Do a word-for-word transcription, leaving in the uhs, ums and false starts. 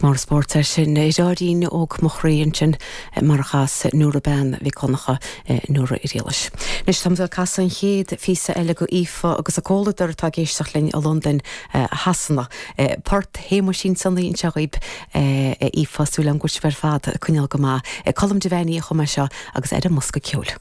Is mór spórt é sin Ráirín óg mo chroí ansin mar a chas Nóra Bean Mhic Donncha Nóra Irialais. Anois táim ag casadh an chéad phíosa eile go Aoife agus a comhluadar atá ag éisteacht linn i Londain Shasana. Port Shéamuisín Sonaí anseo dhaoib Aoife súil agam go bhfuil sibh ar fad coinneáil go maith. Colm Devaney a chum é seo agus ar an mbosca ceoil.